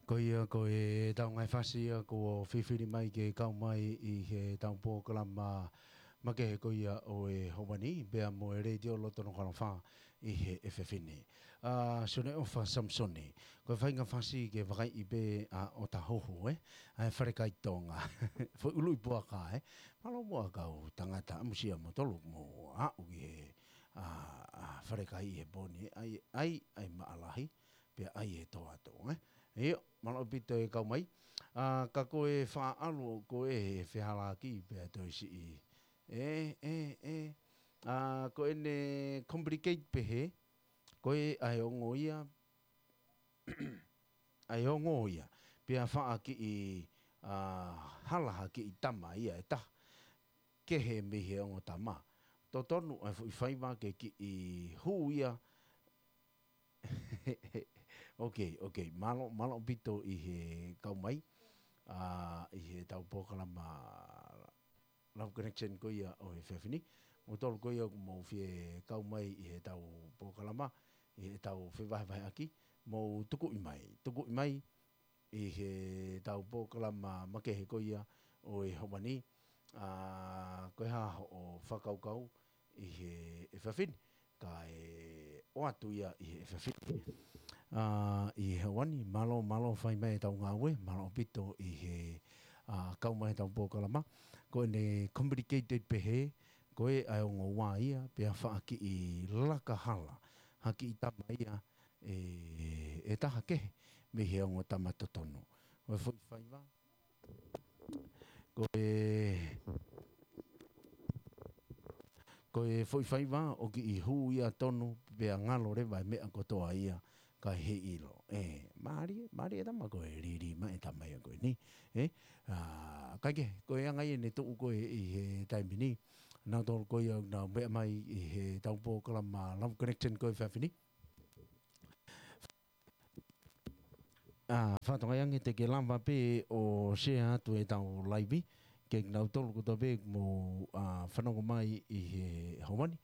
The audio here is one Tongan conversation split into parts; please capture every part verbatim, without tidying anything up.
Ko ia ko e tau ngaahi fasi ia kuo fifili mai ke kau mai ʻi he tau polokalama makehe ko ia ʻo e ʻaho ni, pea mo e Letiō Loto Nukuʻalofa ʻi he efiafi ni. ʻA, Sione ʻOfa Samisoni, ko e faʻahinga fasi ke vakaiʻi pē ʻa ʻOtahuhu, ē? ʻA e Fale Kai Tonga. Foʻi ʻuluʻi puaka, ē? Mālō muʻa kau tangata, ʻamusia mo tolu mo aʻu ki he, ʻa, ʻa, Fale Kai ʻi he pō ni, ʻai, ʻai, ʻai maʻalahi, pea ʻai e toa atu, ē? ʻIo, mālō ʻaupito e kau mai. ʻA, ka ko e faʻa ʻalu ko e fehālaaki pea toe siʻi. ʻE, ʻe, ʻe. ʻA, ko ʻene complicate pehē, ko e ʻa e ongo ia, ʻa e ongo ia. Pea faʻa kiʻi, ʻa, hala ha kiʻi tama ia ʻe taha. Kehe mei he ongo tama. Totonu ʻa e foʻi faiva ke kiʻi hū ia. Ok, ok. Mālō, mālō ʻaupito ʻi he kau mai. ʻA, ʻi he tau polokalama Love Connection ko ia ʻo e efiafi ni. Mo tolu ko ia ʻoku mou fie kau mai ʻi he tau polokalama, ʻi he tau fevahevaheʻaki, mou tukuʻi mai, tukuʻi mai ʻi he tau polokalama makehe ko ia ʻo e ʻaho ni, ʻa, ko e hā hoʻo fakakaukau ʻi he efiafi ni, kae ʻoatu ia ʻi he efiafi ni. ʻA, ʻi he ʻaho ni, mālō, mālō fai mai e tau ngāue, mālō ʻaupito ʻi he, ʻa, kau mai he tau polokalama. Ko ʻene complicate pehē, ko e ʻa e ongo ua ia, pea faʻa kiʻi laka hala ha kiʻi tama ia ʻe, ʻe taha kehe mei he ongo tama totonu. Ko e foʻi faiva, ko e, ko e foʻi faiva ʻoku kiʻi hū ia tonu pea ngalo leva e meʻa kotoa ia kae heiʻilo. ʻE, mālie, mālie e tama ko e lī, lī mai e tama ia ko eni. ʻE, ʻa, kae kehe, ko e anga ia ʻene tuʻu ko ē ʻi he taimi ni. Nautolu ko ia ʻoku nau meʻa mai ʻi he tau polokalama Love Connection ko e efiafi ni. ʻA, Fatongia, ange te ke lava pē ʻo share atu e tau live, ke nautolu kotoa pē mou, ʻa, fanongo mai ʻi he ʻaho ni.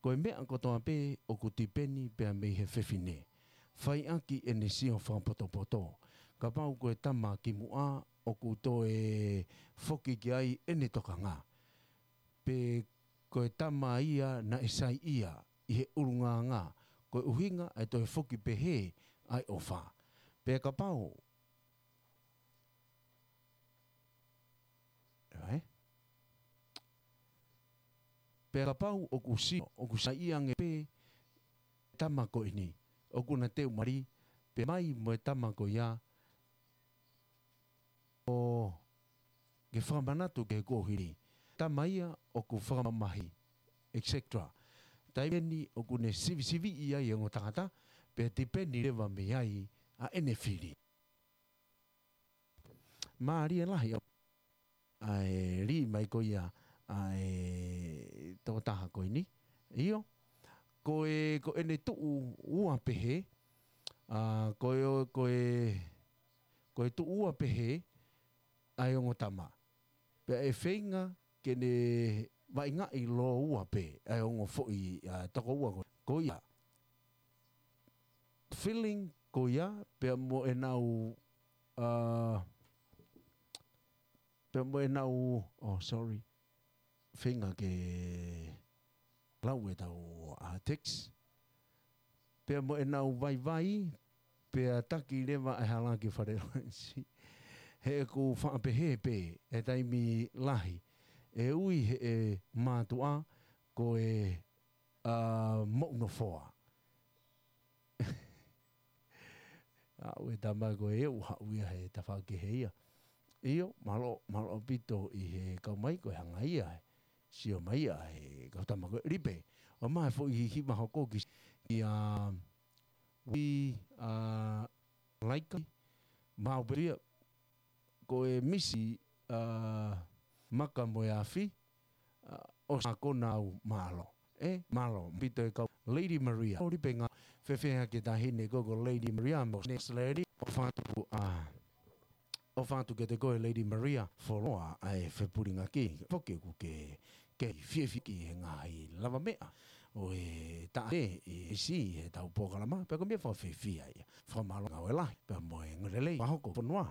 Ko e meʻa kotoa pē ʻoku tipeni pea mei he fefine. Fai ʻaki ʻene sio fakapotopoto. Kapau ko e tama kimuʻa ʻoku toe foki ki ai ʻene tokanga. Pe ko e tama ia naʻe saiʻia ʻi he ʻulungaanga, ko e ʻuhinga ʻa e toe foki pehē ʻa e ʻofa. Pea kapau, ʻe? Pea kapau ʻoku sio, ʻoku saiʻia ange pē tama ko eni, ʻoku na teu mali, pea mai mo e tama ko ia, ʻo ke fakamanatu ke kuo hili. Tama ia ʻoku fakamamahi, et cetera. Taimi eni ʻoku ne sivisiviʻi ai e ongo tangata, pea tipeni leva mei ai ʻa ʻene fili. Mālie lahi ʻa e lī mai ko ia ʻa e tokotaha ko eni. ʻIo, ko e, ko ʻene tuʻu ua pehē, ʻa, ko e, ko e, ko e tuʻu ua pehē ʻa e ongo tama. Pea ʻe feinga ke ne vaʻingaʻi lōua pē ʻa e ongo foʻi, ʻa, tokoua ko, ko ia. Feeling ko ia, pea mo ʻenau, ʻa, pea mo ʻenau, oh, sorry. Feinga ke lau e tau, ʻa, text. Pea mo ʻenau vaivai, pea taki leva e hala ki Fale Lorensi. He ʻoku faʻa pehē pē, e taimi lahi. ʻE ui he ʻe mātuʻa, ko e, ʻa, moʻu nofoa. ʻA, ʻoua e tama ko e ʻuha ui ia he tafaʻaki kehe ia. ʻIo, mālō, mālō ʻaupito ʻi he kau mai ko e hanga ia he sio mai ia he kau tama ko e lipe. ʻO mai foʻi hiva hoko ki, ki ʻa, ui, ʻa, Laika, mau pē ia, ko e misi, ʻa, maka mo e afi, ʻa, ʻo sa kona au mālō. ʻE, mālō, pito e kau Lady Maria. ʻO lipe ngā fefeha ke tahi ne ko ko Lady Maria, mo Next Lady, ʻofa atu, ʻa, ʻofa atu kiate koe Lady Maria, foloa ʻa e fepulingaki. Foki ʻoku ke, ke fiefia ki he ngaahi lavameʻa. ʻo e taʻahine ʻi he ʻi he tau polokalama, pea ko e meʻa fakafiefia ia. Fakamālō ngāue lahi, pea mo e ngāue lelei, fakahoko fonua,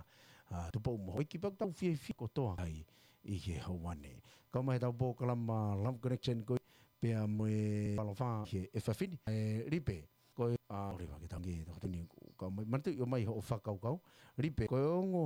ʻa Tupou mo Houʻeiki, pea ko e tau fiefia kotoa ai ʻi he houa ni. Kau mai he tau polokalama Love Connection ko ia, pea mo e Palofa he efiafi ni. ʻE Lipe, ko e, ʻa, ʻo leva ke tangi, tau tini, kau mai, manatu ʻi ʻomai hoʻo fakakaukau. Lipe, ko e ongo